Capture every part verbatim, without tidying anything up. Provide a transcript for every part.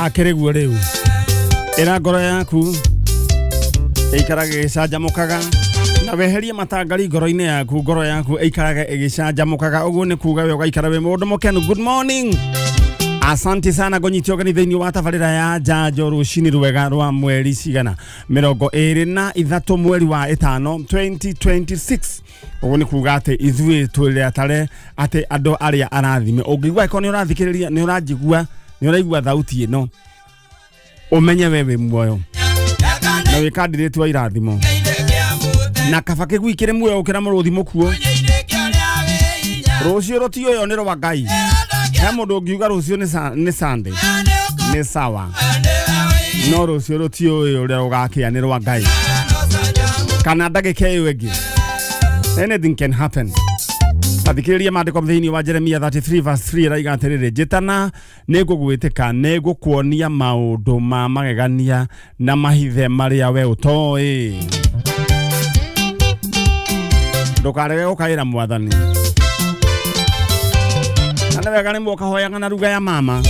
Akĩrĩguo rĩu ĩra ngoro yaku ĩikarage ĩgĩcanjamũkaga na weherie matangari ngoro-inĩ yaku, ngoro yaku ĩikarage ĩgĩcanjamũkaga. Ũguo nĩ kuga we ũgaikara wĩ mũndũ mũkenu. Good morning, asante sana ngũnyite ũgeni thĩinĩ wa tabarĩra ya njanjo rũcinĩ rwega rwa mweri cigana mĩrongo ĩrĩ na ithatũ mweri wa ĩtano twenty twenty-six. Ũguo nĩ kuga atĩ ithuĩ twĩrĩ atare atĩ andũ arĩa arathime. Ũngĩigua ĩkorwo nĩ ũrathikĩrĩria, nĩ ũranjigua, nĩ ũraigua thauti ĩno, ũmenye we wĩ muoyo na wĩ candidate wa irathimo, na kaba kĩgui kĩrĩ muoyo gũkĩra mũrũthi mũkuo. Rũciũ rũtiũywo nĩ rwa Ngai. He mũndũ ũngiuga rũciũ nĩ Sunday, nĩ sawa, no rũciũ rũtiũĩ ũrĩa rũgakĩa nĩ rwa Ngai, kana ndagĩka ĩyo ĩngĩ. Anything can happen. Tathikĩrĩria maandĩko thĩinĩ wa Jeremia thirty-three verse three ĩraiga atĩrĩrĩ, njĩtana nĩngũgwĩtĩka, nĩngũkuonia maũndũ ma magegania na mahithe marĩa we ũtoĩ. Ndũkarege gũkaĩra mwathani. Na nĩ wega rĩmwe ũkahoyaga na ruga ya mama.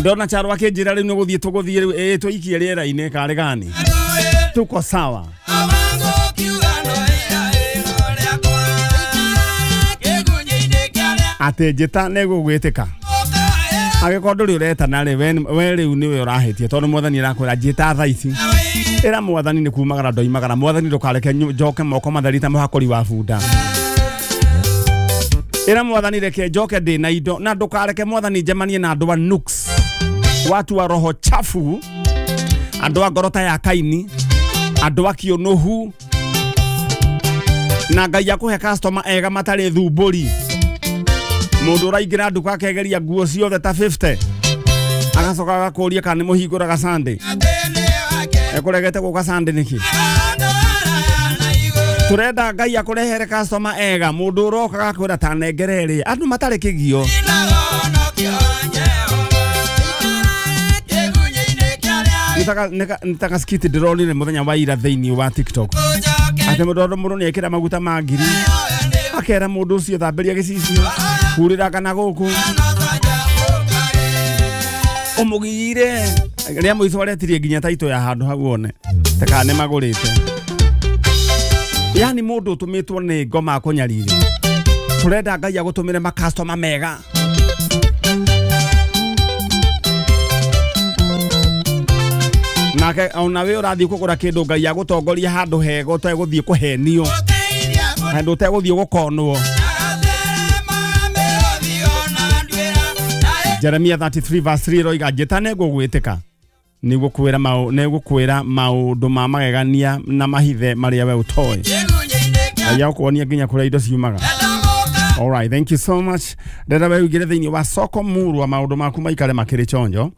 Ndona Charo akĩnjĩra rĩu nĩ gũthiĩ tũgũthiĩ rĩu, ĩĩ tũikie rĩera-inĩ karĩ gani, tuko sawa. Atĩ njĩta nĩngũgwĩtĩka. Angĩkorwo ndũrĩ ũretana rĩ, we rĩu nĩwe ũrahĩtia, tondũ mwathani arakwĩra njĩta thaa ici. Ĩra mwathani nĩ kumagara ndoimagara, mwathani ndũkareke njoke moko matheri ta mũhakũri wa bunda. Ĩra mwathani reke njoke ndĩ na indo, na ndũkareke mwathani njemanie na andũ a nuks, watu wa roho chafu, andũ a ngoro ta ya Kaini, andũ a kĩũnũhu, na Ngai akũhe customer ega matarĩ thumbũri. Mũndũ ũraingĩra nduka akegeria nguo ciothe ta fifty, agacoka agakũria kana nĩ mũhingũraga Sunday. Ekũregete gũka Sunday nĩkĩ? Tũrenda Ngai akũrehere customer ega, mũndũ ũroka agakwĩra ta nengere ĩrĩa, andũ matarĩ kĩgio. Nĩ ta skit ndĩronire mũthenya wa ira thĩinĩ wa TikTok, atĩ mũndũ mũndũ nĩ ekĩra maguta ma ngiri, akera mũndũ ũcio thambĩria gĩcicio, hurĩra kana gũkũ ũmũgire. Rĩa mũico aretirie nginya taito ya handũ hau one ta kana nĩ magũrĩte. Yani mũndũ ũtũmĩtwo nĩ ngoma akũnyarire. Tũrenda Ngai agũtũmĩre makastoma mega. Nake ona we ũrathiĩ kũgũra kĩndũ, Ngai agũtongoria handũ hega ũtegũthiĩ kũhenio, handũ ũtegũthiĩ gũkonwo. Jeremia thirty-three verse three ĩroiga njĩta nĩngũgwĩtĩka, nĩgũkwĩra maũ nĩgũkwĩra maũndũ ma magegania na mahithe marĩa we ũtoĩ. Ngai agũkuonia nginya kũrĩa indo ciumaga. All right, thank you so much. Ndĩrenda we ũingĩre thĩinĩ wa soko murwa, maũndũ maku maikare makĩrĩ chonjo.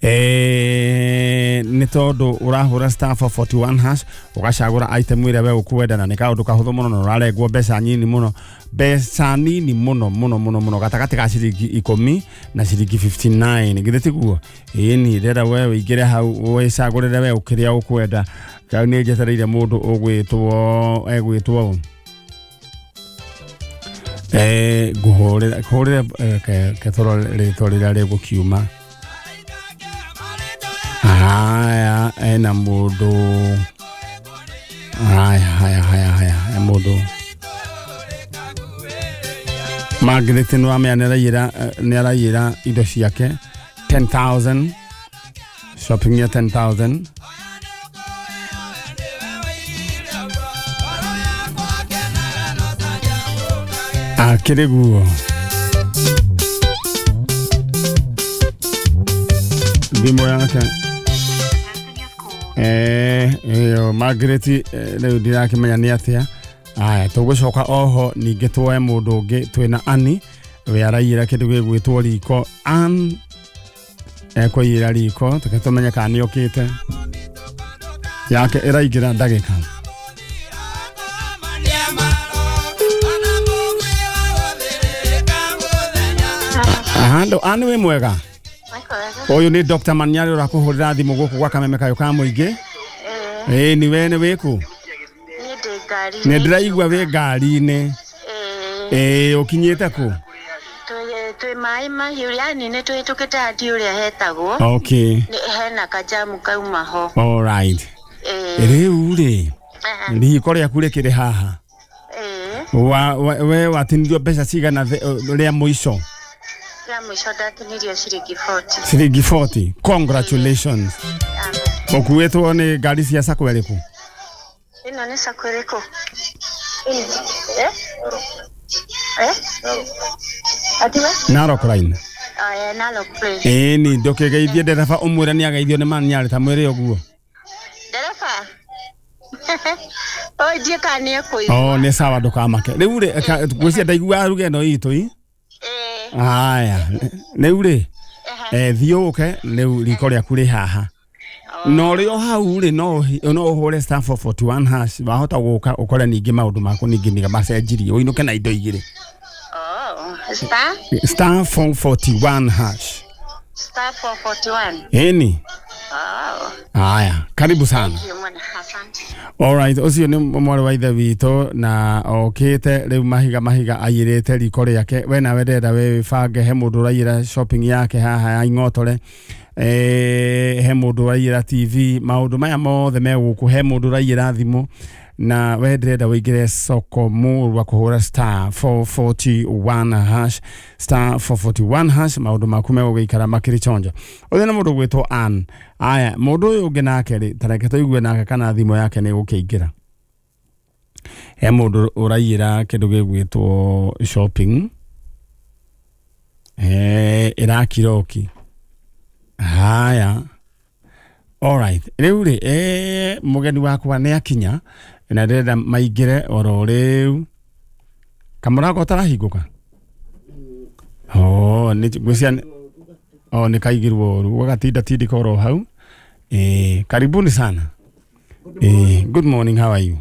Eh, nĩ tondũ ũrahũra star four forty-one hash ũgacagũra item ĩrĩa we ũkwenda, na nĩ kaũndũ kahũthũ mũno na ũrarengwo mbeca nyinyi mũno, mbeca nini mũno mũno mũno mũno, gatagatĩ ka ciringi ikũmi na ciringi fifty-nine. Githĩ tiguo? Ĩni ndĩrenda we ũingĩre hau wĩcagũrĩre we ũkĩrĩa ũkwenda. Rĩu nĩ njetereire mũndũ ũgwĩtwo egwĩtwo eh ngũhũrĩre hũrĩre ketoro rĩtwa rĩrĩa rĩgũkiuma. Haya, ena mũndũ. Haya, haya, haya, haya, he mũndũ Margaret nĩ wamenya nĩ araiyĩra indo ciake ten thousand, shopping ya ten thousand. Akĩrĩ guo thimũ yake. Eh, ĩyo Margaret rĩu ndirakĩmenya nĩ atĩa. Aya, tũgũcoka oho ningĩ tuoe mũndũ ũngĩ twĩna Annie, we araiyĩra kĩndũ gĩgwĩtwo riko. Ann ekũiyĩra riko, tũke tũmenye kana nĩ okĩte. Yake ĩraingĩra ndagĩka. Handũ Ann wĩ mwega? Ũyũ nĩ Doctor Manyari ũrakũhũrĩra thimũ gũkũ gwa Kameme kayũ ka mũingĩ. Ĩĩ nĩ we nĩ wĩkũ? Nĩ ndĩraigua wĩ ngari-inĩ. Ĩĩ ũkinyĩte kũ? Twĩ maĩ mahiũ yani nĩ twĩhĩtũkĩte hati ũrĩa hetagwo. Okay. Hena kajamu kauma ho. All right. Rĩu rĩ riko rĩaku rĩkĩrĩ haha. Wa we watinirio mbeca cigana rĩa mũico? Rĩa mũico ndatinirio ciringi forty. Ciringi forty. Congratulations. Ũkuĩtwo nĩ ngari cia sacco ĩrĩkũ? Ĩno nĩ sacco ĩrĩkũ? Eh? Eh? Atiwe? Narok Line. Aya Narok Line. Eh ni ndũkĩgeithie ndereba ũmwĩre nĩ ageithio nĩ mani ta mwĩre ũguo. Ndereba. Oi ndiĩ kana nĩ ekũigua. Oh nĩ sawa ndũkamake. Rĩu rĩ ngwĩciria ndaigua ruga ĩno itũ i. Eh. Aya rĩu rĩ eh thiĩ ũke rĩu riko rĩaku rĩ haha. No rĩo hau rĩ no no ũhũre star four forty one hash wahota gũka ũkore ningĩ maũndũ maku ningĩ nĩ macenjirie ũinũke na indo igĩrĩ. Oh, star star four forty one hash. Star four forty one. Eni. Oh. Haya, karibu sana. Asante. All right, ucio ni mwarĩ wa ithe witũ na okĩte rĩu mahiga mahiga aiyĩrĩte riko rĩake. We nawe ndĩrenda wĩbange, he mũndũ ũraiyĩra shopping yake haha ya ing'otore, eh he mũndũ ũraiyĩra T V, maũndũ maya mothe me gũkũ, he mũndũ ũraiyĩra thimũ, na we ndĩrenda wĩingĩre soko mũrwa kũhũra star four forty one hash, star four forty one hash, maũndũ maku megũgĩikara makĩrĩ chonjo. Ũyũ nĩ mũndũ ũgwĩtwo Ann. Aya, mũndũ ũyũ ũngĩ nake rĩ, ta reke tũigue nake kana thimũ yake nĩ ĩgũkĩingĩra. He mũndũ ũraiyĩra kĩndũ gĩgwĩtwo shopping, eh ĩrakiroki. Haya. All right. Rĩu rĩ, eh mũgeni wakwa nĩ akinya na ndĩrenda maingĩre oro rĩu. Kamũrango ũtarahingũka? Oh, nĩ ngwĩciria oh nĩ kaigirwo ũru, gagatinda tindĩka oro hau. Eh, karibuni sana. Eh, good morning, how are you?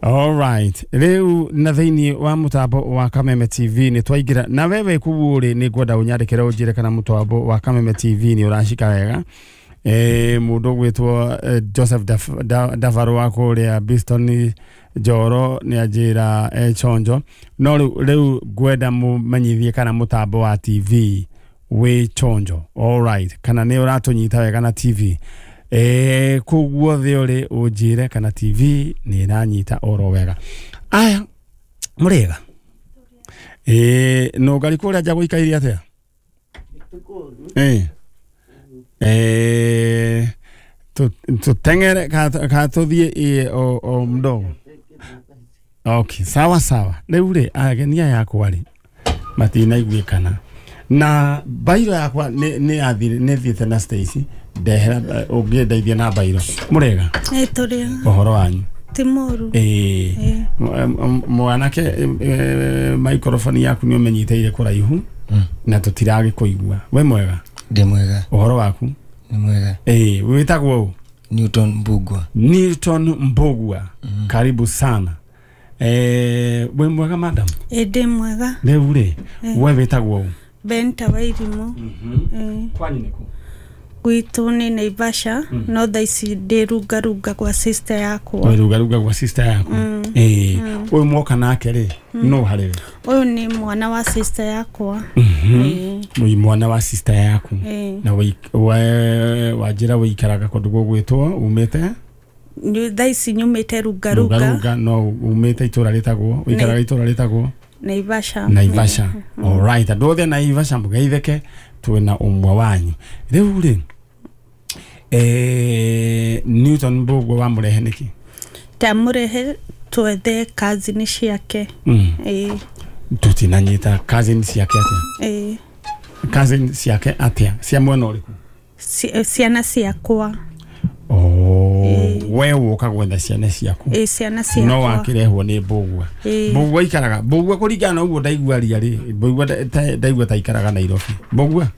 All right. Rĩu na thĩinĩ wa mũtambo wa Kameme T V nĩ twaingĩra na wewe kũu rĩ, nĩ ngwenda ũnyandĩkĩre ũnjĩre kana mũtambo wa Kameme T V nĩ ũracika wega. Eh mũndũ ũgwĩtwo Joseph Davaro wa kũrĩa Biston Njoro nĩ anjĩra eh chonjo. No rĩu rĩu ngwenda mũmenyithie kana mũtambo wa T V wĩ chonjo. All right. Kana nĩ ũratũnyita wega na T V. Eh koguo thĩ ũrĩ ũnjĩre kana T V nĩ ĩranyita oro wega. Aya mũrĩega. Eh no ngari kũrĩa nja gũikaire atĩa? Eh eh tutengere ka tuthiĩ o o mdogo. Okay, sawa sawa. Rĩu rĩ ageni aya yakwa rĩ matinaiguĩkana na bairo yakwa nĩ nĩ yathire nĩ thiĩte na Stacy ndehera ũngĩndeithia na bairo. Mũrĩega? Eh tũrĩega. Ũhoro wanyu? Ti mũru. Eh mwanake microphone yaku nĩ ũmenyiteire kũraihu na tũtiragĩkũigua. We mwega? Ndi mwega. Ũhoro waku? Ni mwega. Eh wĩtagwo ũ? Newton Mbugua. Newton Mbugua. Mm. Karibu sana. Eh we mwega madam? Eh ndi mwega. Rĩu rĩ we wĩtagwo ũ? Benta Wairimu. Mhm. Kwanyu nĩkũ? Gwitũ nĩ Naivasha, no thaa ici ndĩ rungarunga kwa sister yakwa. Wĩ rungarunga kwa sister yaku? Eh ũyũ mwoka nake rĩ no harĩ we? Ũyũ nĩ mwana wa sister yakwa. Mhm. Ũyũ mwana wa sister yaku. Na we wanjĩra wĩikaraga kũndũ gũgwĩtwo umĩte? Thaa ici nyumĩte rungarunga. Rungarunga no umĩte itũra rĩtagwo, wĩikaraga itũra rĩtagwo Naivasha. Naivasha. All right. Andũ othe Naivasha mũgeithĩke twĩna ũmwe wanyu. Rĩu rĩ eh Newton Mbugua wamũrehe nĩkĩ? Ndamũrehe twethe cousin ciake. Eh tutinanyita cousin ciake atĩa? Eh cousin ciake atĩa? Cia mwena ũrĩkũ? Ciana ciakwa. Oh, we woka gwetha ciana ciaku. Eh ciana ciakwa. No wakirehwo nĩ Mbugua. Mbugua ikaraga. Mbugua kũringana na ũguo ndaigua ria rĩ, Mbugua ndaigua ta ikaraga Nairobi. Mbugua?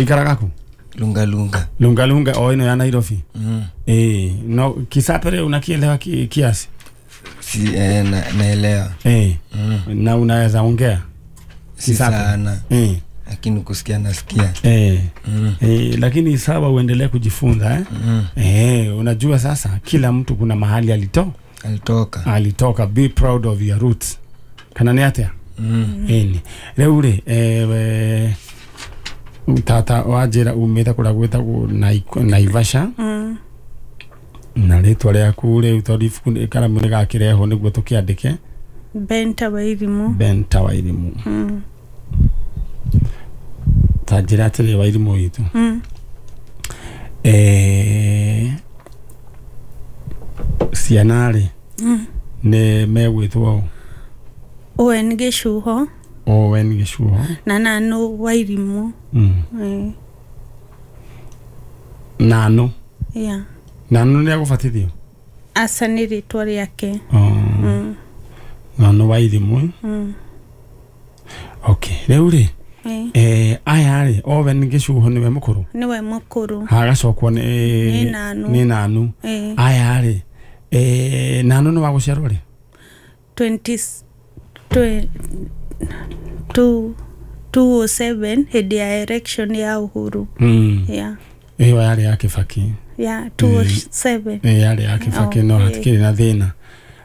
Ikaraga kũ? Lunga lunga. Lunga lunga o ino ya Nairobi. Mm. Eh, no Kisapere unakielewa ki, kiasi? Si eh, na, naelewa. Eh. Mm. Na unaweza ongea? Si sana. Eh. Lakini kusikia nasikia. Eh. Mm. Eh, lakini sawa uendelee kujifunza eh. Mm. Eh, unajua sasa kila mtu kuna mahali alito alitoka. Alitoka. Be proud of your roots. Kana ni atia? Ĩni rĩu rĩ, eh, tata wa njĩra umĩte kũrĩa gwĩtagwo Naivasha. Mm. Na rĩtwa rĩaku rĩu, tondũ ibuku nĩ- karamu nĩ gakĩrehwo nĩguo tũkĩandĩke. Benta Wairimu. Benta Wairimu. Mm. Ta njĩra atĩrĩ, Wairimu witũ, Mm. eh, ciana rĩ, Mm. nĩ megwĩtwo ũ? Owen Gĩcuho. Owen Gĩcuho. Na Nanu Wairimu. Mm. Eh, Nanu? Yeah. Nanu nĩ agũbatithio? Aca, nĩ rĩtwa rĩake. Oh. Mm. Nanu Wairimu. Mm. Okay, rĩu rĩ, Eh, eh, aya rĩ, Owen Gĩcuho nĩwe mũkũrũ? Nĩwe mũkũrũ. Hagacokwo nĩ Nĩ Nanu. Nĩ Nanu. Eh, Aya rĩ, eh, Nanu nĩ wa gũciarwo rĩ? twenty twe- two- two oh seven, hĩndĩ ya election ya Uhuru. Mm. Yeah. Ĩyo yarĩ ya Kĩbaki. Yeah, two oh seven. Ĩyo yarĩ ya Kĩbaki, no Oh, eh. hatikĩrĩ na thĩna.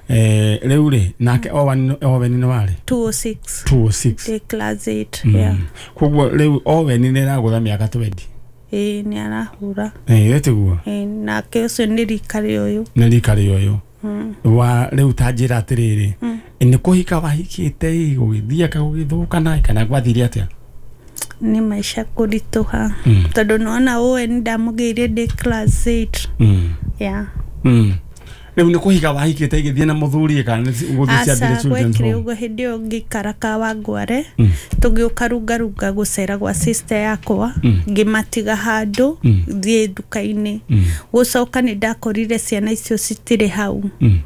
Eh, rĩu rĩ, nake Owen Owen nĩ warĩ? two oh six. two oh six. Ndĩ class eight. Mm. Yeah. Koguo rĩu Owen nĩ ĩragũtha mĩaka twenty. Ĩĩ, nĩ arahũra. Ĩĩ, tiguo? Ĩĩ, nake ũcio nĩ rika rĩa ũyũ. Nĩ rika rĩa ũyũ. Mm. Wa rĩu ta njĩra atĩrĩrĩ, Mm. nĩ kũhika wahikĩte ĩ, gũgĩthiĩ aka gũgĩthũkana kana gwathire atĩa? Nĩ maica kũritũha, Mm. tondũ nĩwona Owen ndamũgĩire ndĩ class eight. Mm. Yeah. Mm. Rĩu nĩ kũhika wahikĩte igĩthiĩ na mũthuri kana nĩ gũthiĩ Aca. ciambire children's Gwekire home? ũguo, hĩndĩ ĩyo ngĩikara Kawangware, Mm. tũgĩũka Rungarunga gũcera gwa sister yakwa. Mm. Ngĩmatiga handũ, Mm. thiĩ nduka-inĩ. Mm. Gũcoka nĩ ndakorire ciana icio citirĩ hau. Mm.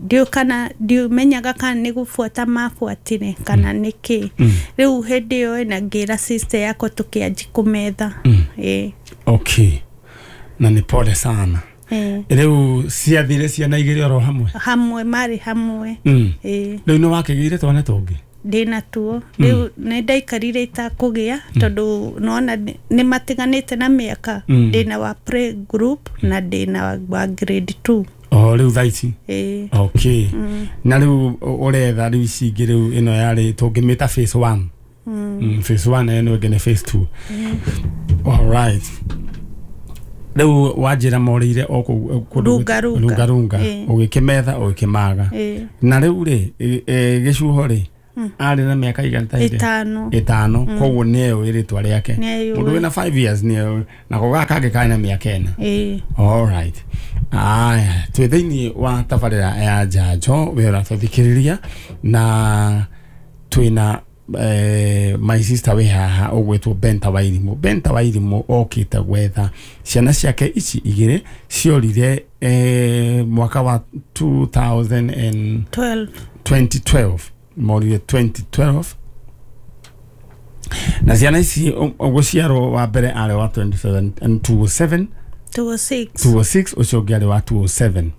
Ndiũ kana ndiũmenyaga kana nĩ gũbuata mabuatire kana nĩ kĩ. Mm. Rĩu hĩndĩ ĩyo na ngĩra sister yakwa, tũkĩanji kũmetha. Mm. Ĩĩ. Okay, na nĩ pole sana. Ĩĩ. Rĩu ciathire ciana igĩrĩ oro hamwe? Hamwe, marĩ hamwe. Mm. Ĩĩ. Rĩu nĩ wakĩgĩire twana tũngĩ? Ndĩna tuo rĩu. Nĩ ndaikarire itakũgĩa, tondũ nona nĩ matiganĩte na mĩaka. Mm. Ndĩna wa play group na ndĩna wa- wa grade two. O rĩu thaa ici? Ĩĩ. Okay, na rĩu ũretha rĩu ici ingĩ, rĩu ĩno yarĩ tũngĩmĩta phase one. Mm. Mm, phase one, ĩno ĩngĩ nĩ phase two. Alright, rĩu wanjĩra morĩire o kũu kũndũ? Runga Runga. Runga Runga. Ĩĩ. Ũgĩkĩmetha ũgĩkĩmaga? Ĩĩ. Na rĩu rĩ, ĩ- ĩ, Gĩcuho rĩ, arĩ na mĩaka igana ta ĩrĩ? Ĩtano. Ĩtano, koguo nĩ eũĩ rĩtwa rĩake? Nĩeũĩ. Mũndũ wĩna five years nĩ eũĩ, nako gaka kangĩ karĩ na mĩaka ĩna. Ĩĩ. Alright, aya twĩ thĩinĩ wa tabarĩra ya njanjo, we ũratũthikĩrĩria, na twĩna eh, my sister wĩ haha ũgwĩtwo Benta Wairimu. Benta Wairimu okĩte gwetha ciana ciake ici igĩrĩ ciorire eh, mwaka wa two thousand and twelve. twenty twelve, morire twenty twelve, na ciana ici gũciarwo wa mbere arĩ wa twenty-seven and two oh seven. two oh six. two oh six, ũcio ũngĩ arĩ wa two oh seven,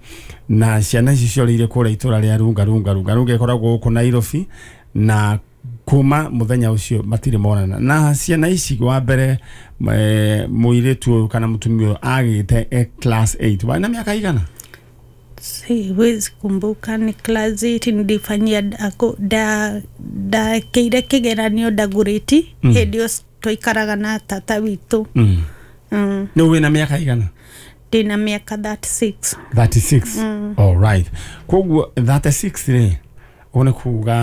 na ciana ici ciorĩire kũrĩa itũra rĩa Runga Runga. Runga Runga ĩkoragwo gũkũ Nairobi, na kuma mũthenya ũcio matirĩ monana na ciana ici. Wa mbere, eh, mũirĩtu ũyũ kana mũtumia ũyũ agĩte e class eight, warĩ na mĩaka igana? Siwezi kumbuka, ni class eight nilifanyia da ndakĩire kĩgeranio ndagũrĩti. Mm. Hĩndĩ ĩyo twaikaraga na tata witũ. mm. mm. Nĩ wĩna mĩaka igana? Ndĩna mĩaka thirty-six. thirty-six. Mm. Alright, koguo thirty-six rĩ, ũguo nĩ kuga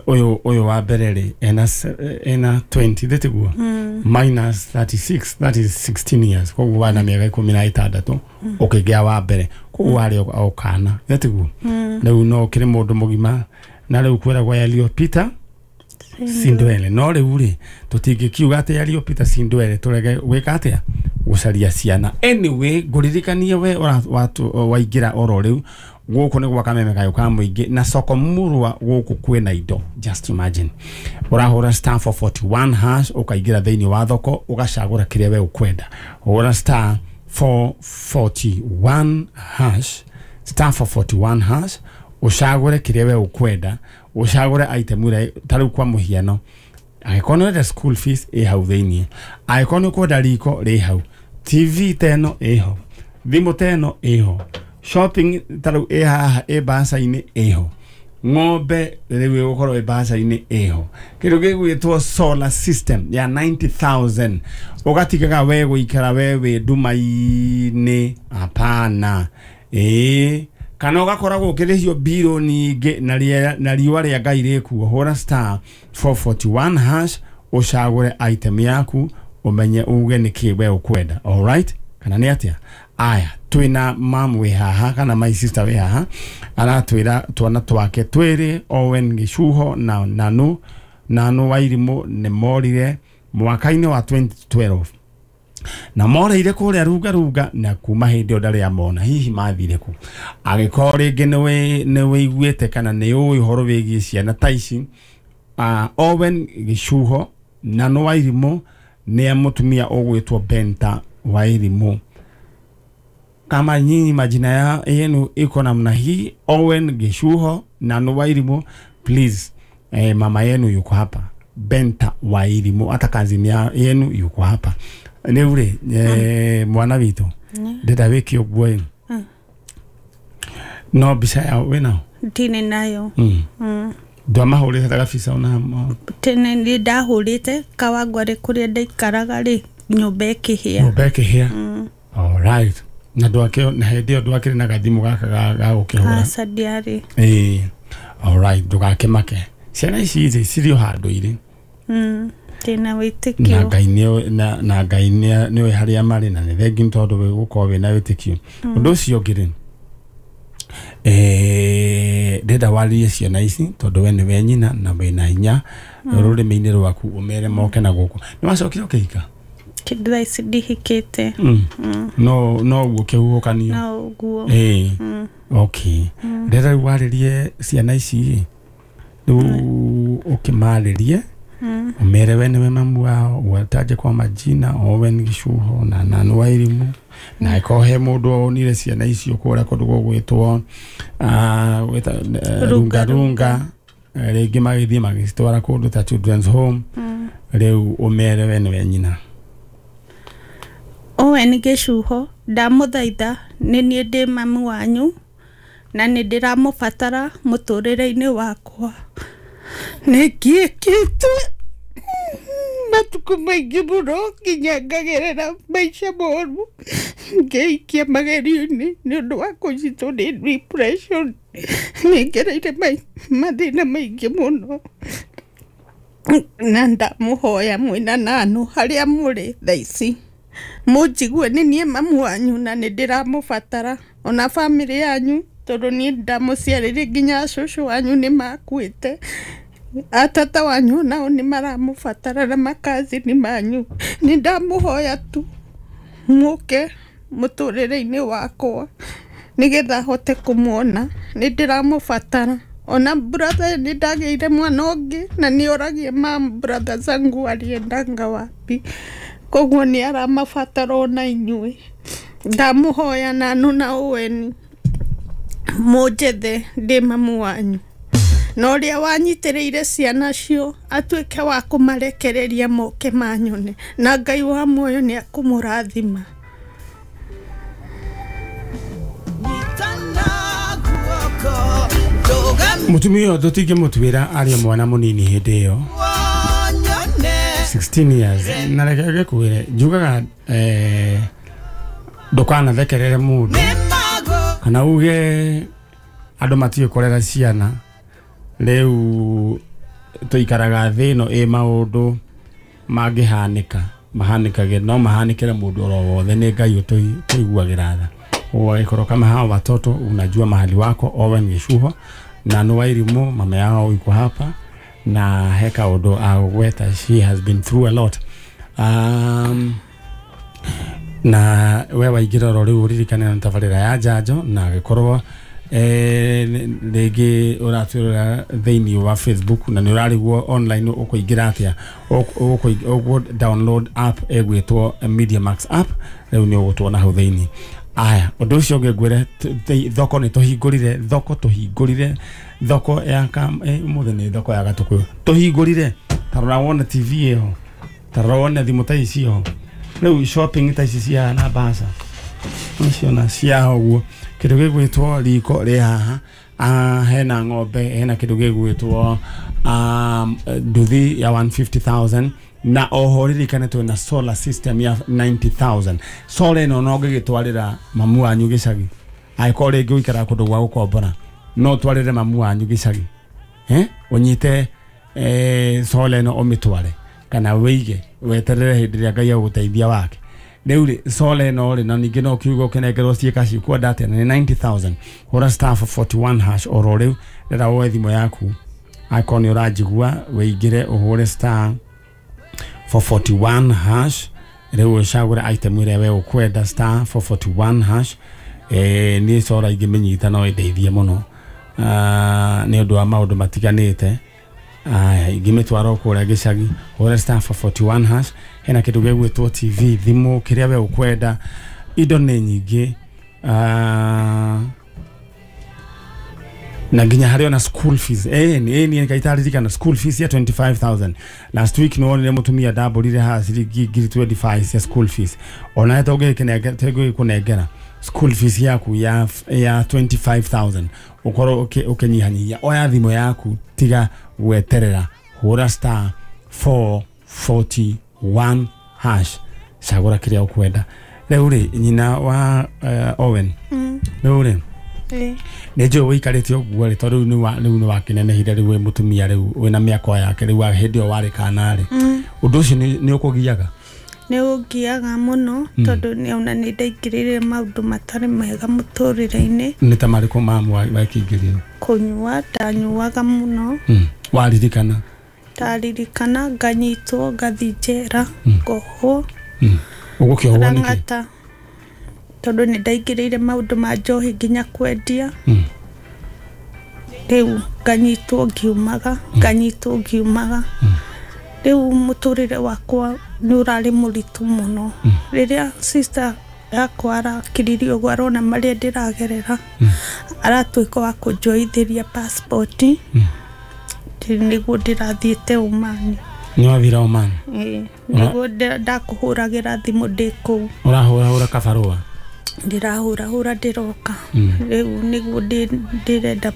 ũyũ ũyũ wa mbere rĩ, ena se- ena twenty thĩtiguo? Mm. Minus thirty-six, that is sixteen years, koguo wana mĩaka ikũmi na ĩtandatũ ũkĩgĩa wa mbere, koguo warĩ o o kana thĩtiguo? Mm. Rĩu no ũkĩrĩ mũndũ mũgima, na rĩu kwĩragwo yaliyopita si ndwele, no rĩu rĩ, tũtingĩkiuga atĩ yaliyopita si ndwele, tũrege gwĩka atĩa, gũcaria ciana. Anyway, ngũririkanie we ũra- watu- waingĩra oro rĩu, gũkũ nĩ gwa Kameme kayũ ka mũingĩ na soko murwa, gũkũ kwĩna indo. Just imagine ũrahũra star four four one hash, ũkaingĩra thĩinĩ wa thoko, ũgacagũra kĩrĩa we ũkwenda. Hũra star four four one hash, star four four one hash, ũcagũre kĩrĩa we ũkwenda, ũcagũre item ĩrĩa, ta rĩu kwa mũhiano, angĩkorwo nĩ ũrenda school fees, ĩ hau thĩiniĩ, angĩkorwo nĩ ũkwenda riko, rĩ hau, T V ta ĩno ĩho, thimũ ta ĩno ĩho, shopping ta rĩu ĩ haha, ĩ mbaca-inĩ ĩho. Ng'ombe rĩu ĩgũkorwo ĩ mbaca-inĩ ĩho. Kĩndũ gĩgwĩtwo solar system ya ninety thousand ũgatigaga we gũikara we wĩ nduma-inĩ, hapana. Ĩĩ, kana ũgakoragwo ũkĩrĩhio mbirũ nyingĩ na rĩera- na riũa rĩa Ngai rĩkuo. Hũra star four forty one hash ũcagũre item yaku ũmenye uge nĩkĩ we ũkwenda. Alright, kana nĩ atĩa? Aya, twĩna mam wĩ haha kana my sister wĩ haha aratwĩra twana twake twĩrĩ Owen Gĩcuho na Nanu Nanu Wairimũ nĩ morire mwaka-inĩ wa twenty twelve na moreire kũrĩa runga runga na kuma hĩndĩ ĩyo ndarĩ amona. Hihi mathire kũ? Angĩkorwo rĩngĩ nĩ wĩiguĩte kana nĩ ũĩ ũhoro wĩgiĩ ciana ta ici, uh, Owen Gĩcuho Nanu Wairimũ nĩ mũtumia ũgwĩtwo Benta Wairimũ. Kama nyinyi majina ya yenu iko namna hii, Owen Gĩcuho Nanu Wairimũ, please, eh, mama yenu yuko hapa Benta Wairimũ, hata kazini ya yenu yuko hapa. Rĩu rĩ, eh, mwana witũ ndĩrenda wĩke ũguo ĩ, no mbica yao wĩnao? Ndirĩ nayo. Mm. Mm. Ndwamahũrĩte ta gabica ona? Tene nĩ ndahũrĩte Kawangware kũrĩa ndaikaraga rĩ, nyũmba ĩkĩhĩa. Nyũmba ĩkĩhĩa. Alright. Na ndwakĩ na hĩndĩ ĩyo ndwakĩrĩ na gathimũ gaka ga ga gũkĩhũra? Aca, ndiarĩ. Ĩĩ. Alright, ndũgakĩmake. Ciana ici rĩ cirĩ o handũ irĩ. Mm. Ndĩna Na wĩtĩkio. Ngai nĩoĩ na, na Ngai nĩoĩ harĩa marĩ na nĩ thengiũ nĩ tondũ gũkorwo wĩna wĩtĩkio. Ũndũ ũcio ũngĩ rĩ, eh, ndĩrenda warĩrie ciana ici tondũ we nĩwe nyina na wĩna hinya rũrĩmĩ-inĩ rwaku ũmere moke na gũkũ. Nĩ wacokire ũkĩhika? Thaa ici ndihikĩte. Mm. No no ũguo kĩhuhũkanio. No ũguo. Ĩĩ. Okay. Ndĩrenda rĩu warĩrie ciana ici rĩ, rĩu ũkĩmarĩrie ũmere we nĩwe mamu wao, ũgataje kwa majina Owen Gĩcuho na Nanu Wairimũ, na ĩkorwo he mũndũ wonire ciana icio kũrĩa kũndũ gũgwĩtwo ah, gwĩta- eh, runga runga, eh, rĩngĩ magĩthiĩ magĩcitwara kũndũ ta children's home, rĩu ũmere we nĩwe nyina. Owen Gĩcuho, ndamũthaitha, nĩ niĩ ndĩ mamu wanyu na nĩ ndĩramũbatara mũtũrĩre-inĩ wakwa. Nĩ ngĩkĩte matukũ maingĩ mũno nginya ngagerera maica moru, ngeikia magerio-inĩ nĩ ũndũ wa kũnyitwo nĩ depression. Nĩ ngereire mathĩna maingĩ mũno na ndamũhoya mwĩna Nanu harĩa mũrĩ thaa ici mũnjigue, nĩ niĩ mamu wanyu na nĩ ndĩramũbatara ona bamĩrĩ yanyu, tondũ niĩ ndamũciarĩire nginya cũcũ wanyu nĩ makuĩte, atata wanyu nao nĩ maramũbatara na makazini manyu. Nĩ ndamũhoya tu mũke mũtũrĩre-inĩ wakwa nĩgetha hote kũmuona, nĩ ndĩramũbatara. Ona brother nĩ ndagĩire mwana ũngĩ na nĩ oragia mam brother zangu aliendanga wapi, koguo nĩ aramabatara ona inyuĩ. Ndamũhoya Nanu na Owen mũnjethe, ndĩ mamu wanyu, na ũrĩa wanyitĩrĩire ciana cio atuĩke wa kũmarekereria moke manyone, na Ngai wa muoyo nĩ akũmũrathima. Mũtumia ũyũ tũtingĩmũtuĩra arĩ mwana mũnini hĩndĩ ĩyo sixteen years, na reke ngĩkwĩre njugaga eh, ndũkanathekerere mũndũ kana uge andũ matiũĩ kũrera ciana. Rĩu tũikaraga thĩ ĩno ĩ maũndũ mangĩhanĩka mahanĩkage, no mahanĩkĩre mũndũ oro wothe, nĩ Ngai ũtũiguagĩra tha. Ũgagĩkorwo kama hawa watoto unajua mahali wako. Owen Gĩcuho Nanu Wairimũ mama yao yuko hapa na he kaũndũ agũgweta, she has been through a lot. Um, na we waingĩra oro rĩu ũririkane na tabarĩra ya njanjo, na agĩkorwo eh, rĩngĩ ũratwĩrora thĩinĩ wa Facebook na nĩ ũrarigwo online ũkũingĩra atĩa, ũkũ download app ĩgwĩtwo Media Max app, rĩu nĩ ũgũtuona hau thĩinĩ. Aya, ũndũ ũcio ũngĩ ngwĩre, thoko nĩ tũhingũrire, thoko tũhingũrire, thoko ya ũmũthĩ nĩ thoko ya Gatũkũyũ tũhingũrire. Ta rora wone T V ĩyo, ta rora wone thimũ ta ici ho, rĩu shopping ta ici cia na mbaca nĩciona cia ũguo. Kĩndũ gĩgwĩtwo riko rĩ haha, Ah, hena ng'ombe, hena kĩndũ gĩgwĩtwo um, nduthi ya one hundred fifty thousand na oho ririkane twĩna solar system ya ninety thousand. Solar ĩno no ũngĩgĩtwarĩra mamu wanyu gĩcagi, angĩkorwo rĩngĩ ũikaraga kũndũ gwa gũkombora, no ũtwarĩre mamu wanyu gĩcagi, eh ũnyite eh solar ĩno ũmĩtware kana wĩige weterere hĩndĩ ĩrĩa Ngai agũgũteithia wake. Rĩu rĩ solar ĩno rĩ, na ningĩ no kiugo ũkĩnengerwo ciĩka cikwenda atĩa, na nĩ ninety thousand. Hũra star four forty one hash oro rĩu, rĩra woe thimũ yaku, angĩkorwo nĩ ũranjigua wĩingĩre ũhũre star four forty one hash, rĩu ũcagũre item ĩrĩa we ũkwenda, star four forty one hash. Eh niĩ solar ingĩmĩnyita no ĩndeithie mũno, ah nĩ ũndũ wa maũndũ matiganĩte. Aya, ingĩmĩtwara kũrĩa gĩcagi, hũra star four forty one hash. Hena kĩndũ gĩgwĩtwo T V, thimũ, kĩrĩa we ũkwenda, indo nĩ nyingĩ. Ah na nginya harĩ ona school fees. Eh ni ni ngaitaririkana school fees ya twenty five thousand. Last week no wonire mũtumia ndambũrire haha ciringi ngiri twenty five cia school fees. Ona tũngĩkĩnengera tũngĩkũnengera school fees yaku ya ya twenty five thousand, ũkorwo ũkĩnyihanyihia. Oya thimũ yaku, tiga gweterera, hũra star four forty one hash, cagũra kĩrĩa ũkwenda. Rĩu rĩ, nyina wa uh, Owen, rĩu rĩ nĩ njũĩ ũikarĩte ũguo rĩ, tondũ rĩu nĩ rĩu nĩ wakĩnenehire, rĩu wĩ mũtumia, rĩu wĩna mĩaka yake, rĩu hĩndĩ ĩyo warĩ kana rĩ, ũndũ ũcio nĩ ũkũgiaga? Nĩ ũngiaga mũno, tondũ nĩ ona nĩ ndaingĩrĩire maũndũ matarĩ mega mũtũrĩre-inĩ. Nĩ ta marĩkũ mamu wekĩingĩrire? Kũnyua, ndanyuaga mũno. Waririkana? Ndaririkana, nganyitwo, ngathiĩ njera, ngohwo. Ũgũkĩohwo nĩkĩ? Tondũ nĩ ndaingĩrĩire maũndũ ma njohi nginya kwendia. Rĩu nganyitwo ngiumaga, nganyitwo ngiumaga. Rĩu mũtũrĩre wakwa nĩ ũrarĩ mũritũ mũno. Rĩrĩa sister yakwa arakiririe ũguo arona marĩa ndĩragerera, aratuĩka wa kũnjoithĩria passport, nĩguo ndĩrathiĩte Oman. Nĩ wathire Oman? Ĩĩ, nĩguo ndakũhũragĩra thimũ ndĩ kũu. Ũrahũrahũra kabarũa? Ndĩrahũrahũra ndĩroka. Rĩu nĩguo ndĩrenda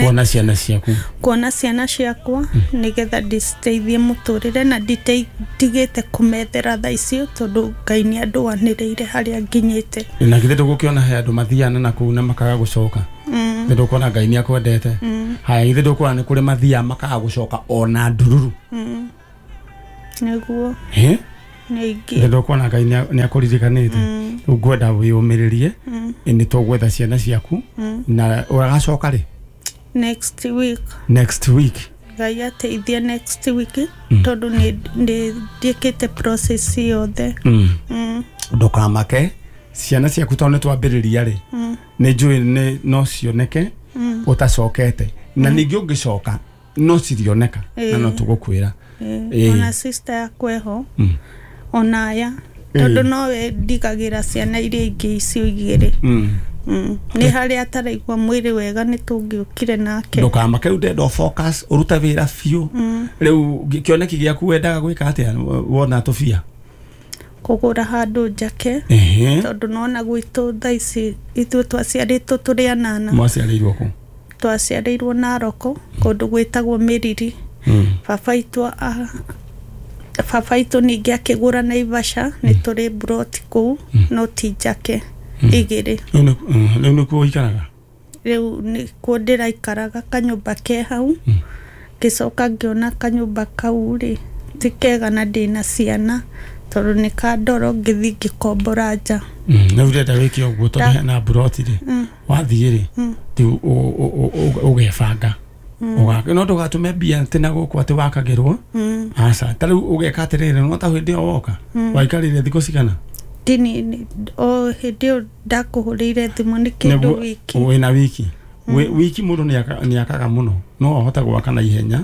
kuona ciana ciaku, kuona ciana ciakwa, nĩgetha ndiciteithie mũtũrĩre, na nditigĩte kũmethera thaa icio, tondũ Ngai nĩ andũanĩrĩire harĩa nginyĩte. Na githĩ ndũgũkĩona he andũ mathiana na kũu na makaga gũcoka? Githĩ ndũkuona Ngai nĩ akwendete? Haya, githĩ ndũkuona nĩ kũrĩ mathiaga makaga gũcoka ona ndururu? Nĩguo. Ĩ? Nĩingĩ. Githĩ ndũkuona Ngai nĩ akũririkanĩte? Rĩu ngwenda wĩyũmĩrĩrie, nĩ tũgwetha ciana ciaku, na ũgacoka rĩ? Next week. Next week. Ngai ateithie next week, tondũ nĩ ndiĩkĩte process yothe. Ndũkamake, ciana ciaku tondũ nĩ twambĩrĩria rĩ, nĩ njũĩ no cioneke ũtacokete, na ningĩ ũngĩcoka no cirioneka, na no tũgũkwĩra. Ona sister yakwa eho, ona aya, tondũ nowe ndigagĩra ciana iria ingĩ icio igĩrĩ. Nĩ harĩa ataraigua mwĩrĩ wega nĩ tũngĩũkire nake. Ndũkamake, rĩu ndĩrenda focus, ũrute wĩra biũ. Rĩu kĩoneki gĩaku wendaga gwĩka atĩa wona tũbia? Kũgũra handũ njake, tondũ nona gwitũ thaa ici ithuĩ twaciarĩtwo tũrĩ anana. Mwaciarĩirwo kũ? Twaciarĩirwo Naroko, kũndũ gwĩtagwo Mĩriri. Baba itũ baba itũ ningĩ akĩgũra Naivasha, nĩ tũrĩ mburoti kũu, no ti njake igĩrĩ. Rĩu nĩkuo ũikaraga? Rĩu nĩkuo ndĩraikaraga, kanyũmba ke hau. Ngĩcoka ngĩona kanyũmba kau rĩ ti kega na ndĩna ciana, tondũ nĩ ka ndoro, ngĩthiĩ ngĩkombora nja. Rĩu ndĩrenda wĩke ũguo, tondũ hena mburoti rĩ, wathiĩ rĩ, rĩu ũgebanga, no ndũgatũme mbia atĩ na gũkũ atĩ wakagĩrwo. Aca, ta rĩu ũgeka atĩrĩrĩ, no ta hĩndĩ ĩyo woka waikarire thikũ cigana? Ndini o hĩndĩ ĩyo ndakũhũrĩire thimũ nĩ kĩndũ wiki. Wĩna wiki. Wiki mũndũ nĩ akaga mũno, no ahote gwaka na ihenya.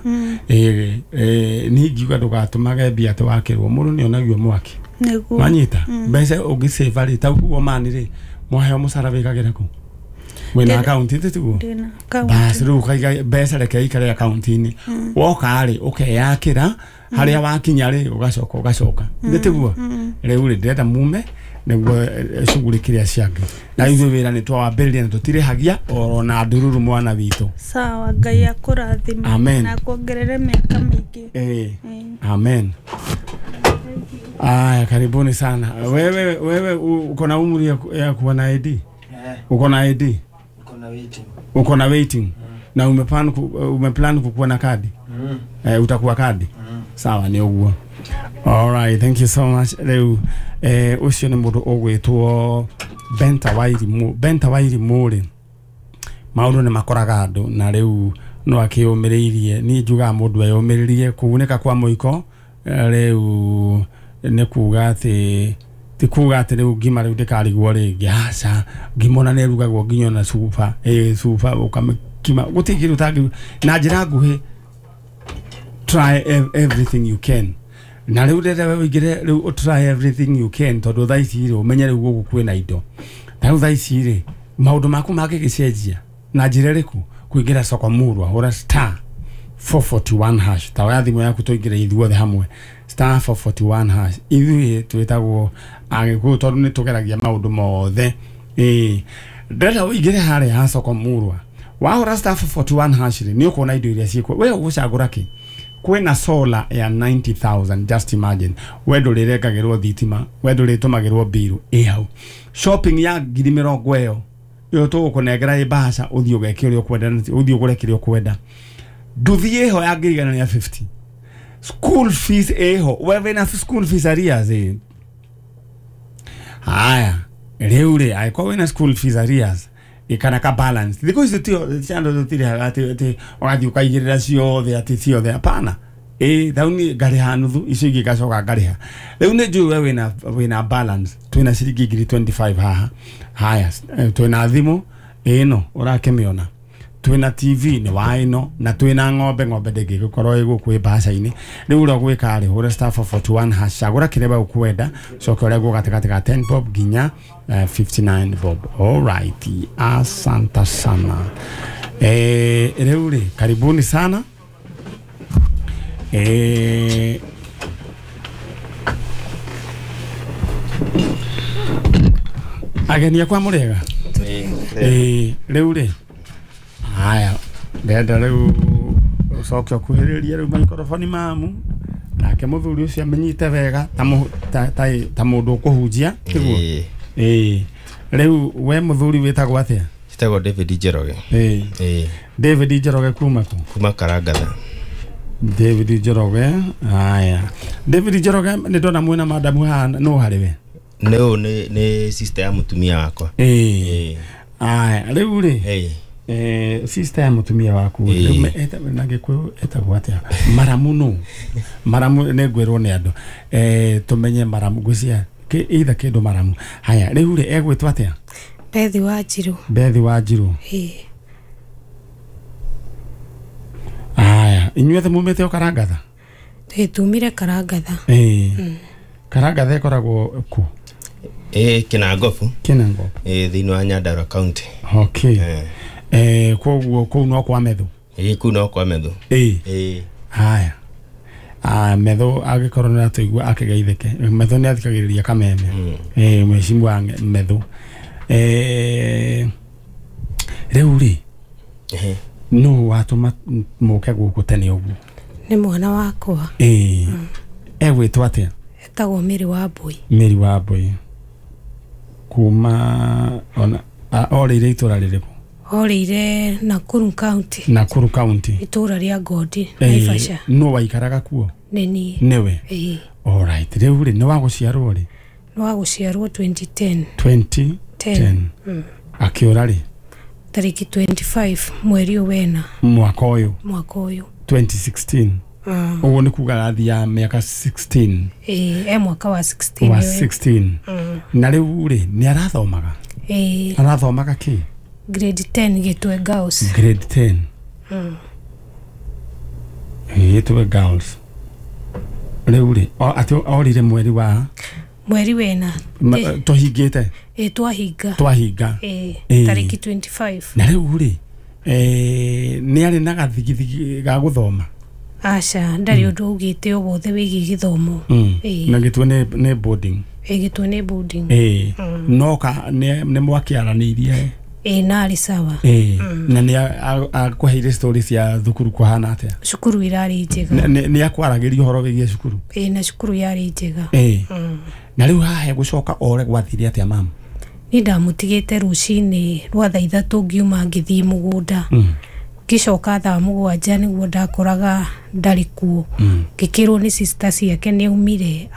Niĩ ingiuga ndũgatũmage mbia atĩ wakĩrwo, mũndũ nĩ onagio mwaki. Nĩguo. Wanyita? Mbeca ũngĩsave rĩ, ta ũguo mani rĩ, mwaheo mũcara wĩkagĩra kũ? Wĩna akaunti tiguo? Ndĩna akaunti. Basi rĩu ũkaiga mbeca reke ikare akaunti-inĩ. Woka rĩ, ũkeyakĩra, harĩa wakinya rĩ, ũgacoka ũgacoka. Nĩ tiguo? Rĩu rĩ, ndĩrenda mume Nĩguo shughulikia ciangĩ. Na ithuĩ wĩra nĩ twawambĩrĩria na tũtirĩhagia oro na ndururu mwana witũ. Sawa, Ngai akũrathime. Amen. Na akuongerere mĩaka mĩingĩ. Eh. Amen. Aya, karibuni sana. Wewe wewe uko na umri ya, ya kuwa na I D? Eh. Uko na I D? Uko na waiting. Uko na waiting. Mm. Na umeplan ku, umeplan kukuwa na kadi? Mm. Eh, utakuwa kadi? Mm. Sawa, ni uguo. All right, thank you so much. Rĩu eh ucio nĩ mũndũ ũgwĩtwo Benta Wairimu. Benta Wairimu rĩ, maũndũ nĩ makoraga andũ na rĩu no akĩyũmĩrĩirie. Niĩ njugaga mũndũ eyũmĩrĩrie kũgunĩka kwa mũiko rĩu nĩ kuga atĩ ti kuga atĩ rĩu ngima rĩu ndĩkarigwo rĩngĩ. Aca, ngima ona nĩ ĩrugagwo nginya ona cuba, ĩ cuba ũkamĩkima gũtirĩ kĩndũ ũtangĩ. Na njĩra nguhĩ, try everything you can. Na rĩu rĩrĩa we ũingĩre rĩu try everything you can, tondũ thaa ici rĩ ũmenye rĩu gũkũ kwĩna indo. Na rĩu thaa ici rĩ maũndũ maku mangĩgĩcenjia na njĩra ĩrĩkũ? Kũingĩra soko murwa, hũra star four forty-one hash. Ta oya thimũ yaku tũingĩre ithuothe hamwe star four forty-one hash. Ithuĩ twĩtagwo Agĩkũyũ tondũ nĩ tũgeragia maũndũ mothe. Ĩĩ, ndĩrenda ũingĩre harĩa ha soko murwa, wahũra star four forty-one hash rĩ nĩ ũkuona indo iria ciĩkuo. We ũgũcagũra kĩ? Kwĩna solar ya ninety thousand, just imagine. We ndũrĩrengagĩrwo thitima, we ndũrĩtũmagĩrwo mbiru ĩ hau. Shopping ya ngiri mĩrongo ĩyo ĩyo tũgũkũnengera ĩ mbaca, ũthiĩ ũgeke ũrĩa ũkwenda, ũthiĩ ũgũre kĩrĩa ũkwenda. Nduthi ĩho ya ngiri igana rĩa fifty. School fees ĩho, we wĩna school fees arrears ĩ. Haya, rĩu rĩ angĩkorwo wĩna school fees arrears ikana ka balance. Thikũ ici tio ciana tũtirĩhaga atĩ atĩ ũgathiĩ ũkaigĩrĩra ciothe atĩ ciothe, hapana. Ĩ thau niĩ ngarĩha nuthu, icio ingĩ ngacoka ngarĩha. Rĩu nĩ njũĩ we wĩna wĩna balance, twĩna ciringi ngiri twenty-five haha. Haya, twĩna thimũ ĩno ũrakĩmĩona, twĩna T V nĩ wa ĩno, na twĩna ng'ombe. Ng'ombe ndĩngĩgĩkorwo ĩ gũkũ ĩ mbaca-inĩ. Rĩu ũrĩa ũgwĩka rĩ, hũra star four forty-one hash, cagũra kĩrĩa we ũkwenda, coke ũrengwo gatagatĩ ka ten bob nginya fifty-nine bob. All right, asante sana. Eh, rĩu rĩ karibuni sana. Eh, ageni akwa mũrĩega? Eh, rĩu rĩ haya, ndenda rĩu ũcoke ũkuhĩrĩrie rĩu maikoroboni mamu, nake mũthuri ũcio amenyite wega ta ta ta mũndũ ũkũhunjia, tiguo? Ĩĩ. Rĩu we mũthuri wĩtagwo atĩa? Njĩtagwo David Njoroge. Ĩĩ. Ĩĩ. David Njoroge kuma kũ? Kuma Karangatha. David Njoroge, haya. David Njoroge nĩ ndona mwĩna madamu haha, no harĩ we? Nĩ ũyũ nĩ nĩ sister ya mũtumia wakwa. Ĩĩ. Haya, rĩu rĩ Ĩĩ. Eh, sister ya mũtumia waku rĩu na Gĩkũyũ etagwo atĩa? Maramu nũ? Maramu nĩ ngwĩrwo nĩ andũ. Eh, tũmenye maramu ngwĩciria either kĩndũ maramu. Haya, rĩu rĩ egwĩtwo atĩa? Bethi Wanjirũ. Bethi Wanjirũ. Ĩĩ. Haya, inyuothe mumĩte o Karangatha? Ĩĩ, tumire Karangatha. Ĩĩ. Karangatha ĩkoragwo kũ? Ĩĩ, Kinangobu. Kinangobu. Ĩĩ, thĩinĩ wa Nyandarua County. Okay. Eh, koguo kũu no kwa Methu? Ĩĩ, kũu no kwa Methu. Ĩĩ. Ĩĩ. Haya. Ah, Methu angĩkorwo nĩ atũigua akĩgeithĩke. Methu nĩ athikagĩrĩria Kameme. Ĩĩ, mheshimiwa Methu. Eh, rĩu rĩ nũ watũma mũke gũkũ tene ũguo? Nĩ mwana wakwa. Ĩĩ. Egwĩtwo atĩa? Etagwo Mary Wambui. Mary Wambui. Kuma ona orĩire itũra rĩrĩkũ? Orĩire Nakuru County. Nakuru County. Itũra rĩa Ngondi, Naivasha. Nũ waikaraga kuo? Nĩ niĩ. Nĩwe? Ĩĩ. All right. Rĩu rĩ nĩ wa gũciarwo rĩ? Nĩ wa gũciarwo twenty ten. twenty ten. Akĩũra rĩ? Tarĩki twenty-five mweri wena. Mwaka ũyũ? Mwaka ũyũ. twenty sixteen. Ũguo nĩ kuga arathiĩ mĩaka sixteen. Ĩĩ, e mwaka wa sixteen. Wa sixteen. Na rĩu rĩ nĩ arathomaga? Ĩĩ. Arathomaga kĩ? Grade ten Gĩtwe Girls. Grade ten. Mm. Gĩtwe Girls. Rĩu rĩ atĩ orire mweri wa mweri wena. Tũhingĩte? Ĩĩ, twahinga. Twahinga. Ĩĩ, tarĩki twenty-five. Na rĩu rĩ eh nĩ arĩ na gathigithigi ga gũthoma? Aca, ndarĩ ũndũ augĩte o wothe wĩgiĩ gĩthomo. Ĩĩ. Na Gĩtwe nĩ nĩ boarding? Ĩ, Gĩtwe nĩ boarding. Ĩĩ, no ka nĩ nĩ mwakĩaranĩirie? Ĩ, narĩ sawa. Ĩĩ, na nĩ akũheire story cia thukuru kũhana atĩa? Cukuru irarĩ njega. Nĩ- nĩ nĩ akwaragĩria ũhoro wĩgiĩ cukuru? Ĩ, na cukuru yarĩ njega. Ĩĩ, na rĩu haha gũcoka ore gwathire atĩa, mamu? Niĩ ndamũtigĩte rũcinĩ rwa thaa ithatũ, ngiuma ngĩthiĩ mũgũnda, ngĩcoka thaa mũgwanja nĩguo ndakoraga ndarĩ kuo. Ngĩkĩrwo nĩ sister ciake nĩ aumire.